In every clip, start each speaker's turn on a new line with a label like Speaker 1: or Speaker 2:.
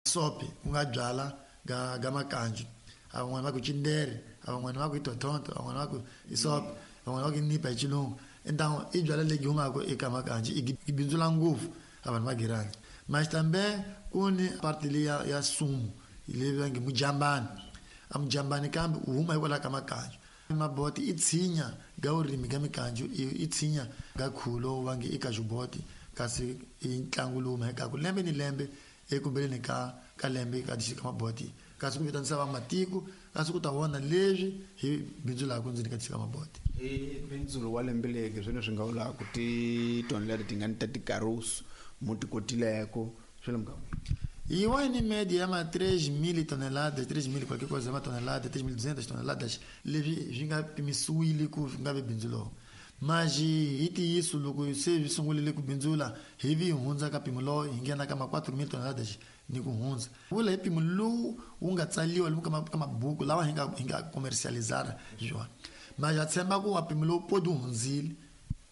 Speaker 1: Sope ku nga byala ga ga makanju, a van'wana va ku chindere, a van'wana va ku i totonto, a van'wana va ku i sope, van'wana va ku i nipa hi xilungu. Então i byala lebyi humaka eka makanju i bindzula ngopfu a vanhu va girani. Mas também ku ni parte leyi ya sumu leyi va nge mujambani, a mujambani kambe u huma hikwalaho ka makanju. Maboti i tshinya ga vurimi ga mikanju i tshinya ga khulo va nge i kajuboti, kasi i ntlangu lowu mhekaku lembe ni lembe ekumbeleni ka lembe ka dixika maboti, kasi ku vitanisa va matiko kasi ku ta vona leswi hi bindzulaka ndzeni ka dixika maboti.
Speaker 2: Hi bindzulo wa lembe leki swone swi nga vulaka titoni leti ti nga ni ta tikarusu mu ti kotileko swi le muganga.
Speaker 1: E wine média é uma 3.000 toneladas, 3.000 qualquer coisa, uma tonelada, 3.200 toneladas, leswi swi nga pimisiwile ku swi nga vi bindzu lowu. Mas hi ntiyiso loko se swi sungurile ku bindzula hi vi hi hundza ka mpimo lowu hi nghena ka ma 4.000 toneladas ni ku hundza. Vula hi mpimo lowu wu nga tsaliwa lomu ka mabuku lawa hi nga commercializara hi swona. Mas ha tshemba ku wa mpimo lowu podi hundzile,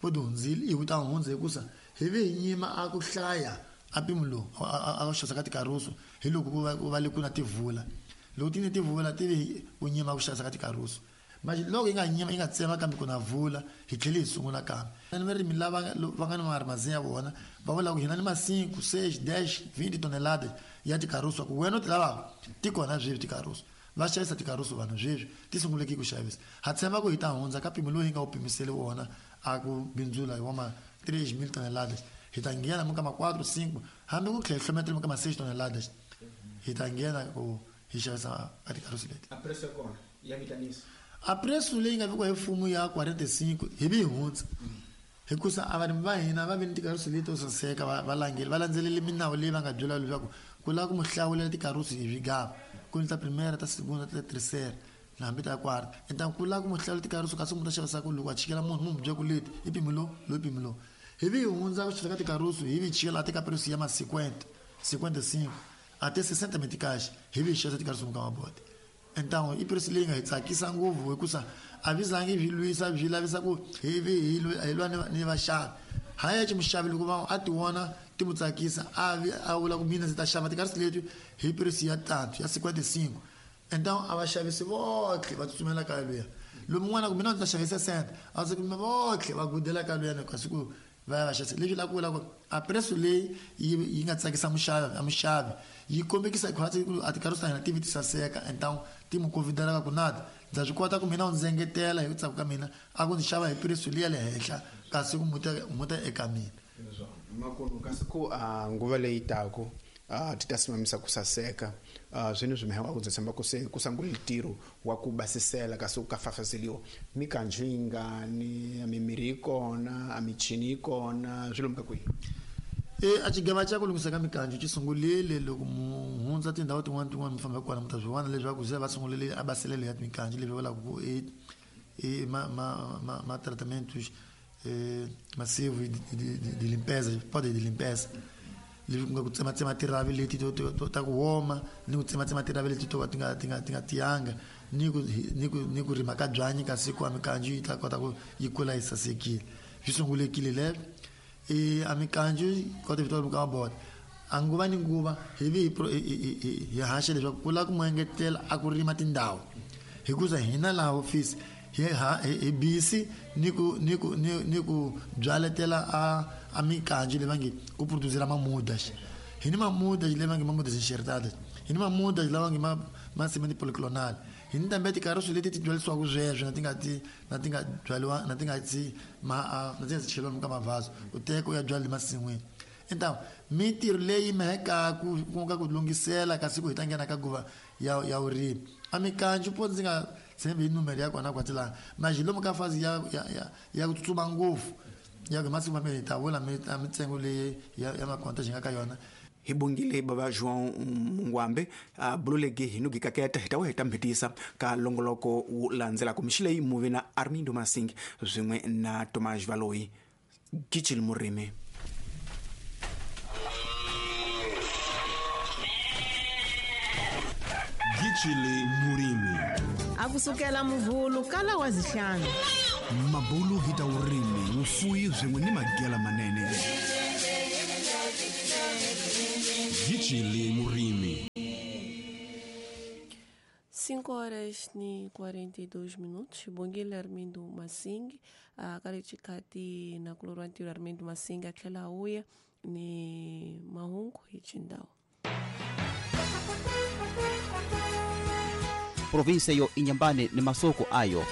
Speaker 1: podi hundzile i wu ta hundza hikusa hi vi hi nyima a ku hlaya a mpimo lowu a xavisa ka tikarusu hi loko ku va le ku na tivula. Loko ti ni tivula ti vi ku nyima ku xavisa ka tikarusu. Mas loko yi nga nyima yi nga tsema kambe ku na vula hi tlhele hi sungula kambe. Ni varimi lava va nga ni marimazini ya vona va vula ku hina ni ma 5, 6, 10, 20 toneladas ya tikarusu ku wena u ti lavaka ti kona sweswi tikarusu. Va xavisa tikarusu vanhu sweswi ti sunguleke ku xavisa. Ha tshemba ku hi ta hundza ka mpimo lowu hi nga wu pimiseli wona a ku bindzula hi wa ma 3.000 toneladas. Hi ta nghena mu ka ma 4, 5 hambi ku tlhela hlometela mu ka ma 6 toneladas. Hi ta nghena ku hi xavisa a tikarusu leti.
Speaker 2: A preço ya kona ya vitanisa.
Speaker 1: A preço leyi nga vekiwa hi mfumo ya 45 hi vi hi hundza. Hikusa a varimi va hina va vi ni tikarusu leti to saseka va langile va landzelele minawu leyi va nga byela leswaku ku lava ku mu hlawulela tikarusu hi swigava, ku ni ta primera, ta segunda, ta terceira na hambi ta quarta. Então ku lava ku mu hlawulela tikarusu kasi mu ta xavisa ku loko a chikela munhu mu mu byela ku leti i mpimo lowu, lowu i mpimo lowu. Hi vi hi hundza ku xavisa ka tikarusu hi vi hi chikela a ka preço ya ma 50, 55 até 60 meticais hi vi hi xavisa tikarusu mu ka maboti. Então i preço leyi nga hi tsakisa ngopfu hikusa a vi zangi swi lwisa swi lavisa ku hi vi hi lwa ni vaxavi. Hayi muxavi loko va a ti vona ti mu tsakisa a vi a vula ku mina ndzi ta xava tikarusu leti hi preço ya tanto ya 55. Então a vaxavisi votlhe va tsutsumela ka luya. Lomu un'wana ku mina ndzi ta xavisa 60, a ndzi ku votlhe va gudela ka luya kasi ku va ya va xavisa. Leswi la ku vula ku a preço leyi yi nga tsakisa muxavi a muxavi yi kombekisa khwatsi ku a tikarusu ta hina ti vi ti saseka. Então ti mu convidela ku nada ndza swi kota ku mina u ndzi engetela hi ku tsaka ka mina a ku ndzi xava hi preço liya le henhla kasi ku muta eka mina.
Speaker 2: Makunu kasi ku a nguva leyi taku ti ta simamisa ku saseka swini swi mehe wa ku tshemba ku se ku sangule ntirho wa ku basisela kasi ku ka fafazeliwa mikanju yi ngani a mimirhi yi kona a michini yi kona swi lomu ka kwihi?
Speaker 1: A xigava xa ku lunghisa ka mikanju xi sungulile loko mu hundza tindhawu tin'wana tin'wana mi famba kona mi ta swi vona leswaku se va sungulile a baselelo ya mikanju leswi vulaka ku i ma tratamentos massivo de limpeza, pode de limpeza. Leswi ku nga ku tsematsema tiravi leti to ta ku woma ni ku tsematsema tiravi leti to ka ti nga tiyanga ni ku rima ka byanyi kasi ku a mikanju yi ta kota ku yi kula yi sasekile. Swi sungulekile leswo i a mikanju kota vito ka mabota a nguva ni nguva hi vi hi haxa leswaku ku lava ku mu engetela a ku rima tindhawu hikuza hina laha office hi busy ni ku byaletela a mikanju leyi va nge ku producera mamudas. Hi ni mamudas leyi va nge mamudas enxertadas, hi ni mamudas lava nge ma cement polyclonal, hi ni tambe tikarusu leti ti byalisiwaka sweswo na ti nga ti na ti nga byaliwa na ti nga ti ma na ti nga cheliwa ka mavhazo u teka u ya byala emasin'wini. Então mintirho leyi mehekaku ku nga ku lunghisela kasi ku hi ta nghena ka nguva ya vurimi a mikanju po ndzi nga tshembi hi numero ya kona kwati laha mas lomu ka fazi ya ku tsutsuma ngopfu ya ku masiku mambirhi hi ta vula mintsengo leyi ya makonta xi nga ka yona.
Speaker 2: Hi bongile bava João Mungwambe a bululeki hi nugi kaketa hi ta wa hi ta mhetisa ka longoloko wu landzelaka mixi leyi muvi na Armindo Masing swin'we na Tomás Valoyi. Gicil Murimi.
Speaker 3: Gicile Murimi.
Speaker 4: A kusukela muvhulu kala wa zihlanu.
Speaker 3: Mabulu hi ta vurimi, vufuwi swin'we ni magela manene. Gicile Murimi.
Speaker 5: 5 horas ni 42 minutos. Bongile Armindo Masing, kale chikati na kulorwa ntirho Armindo Masing a tlhela a vuya ni mahungu hi xindhawu.
Speaker 6: Província yo Inhambane ni masoko ayo.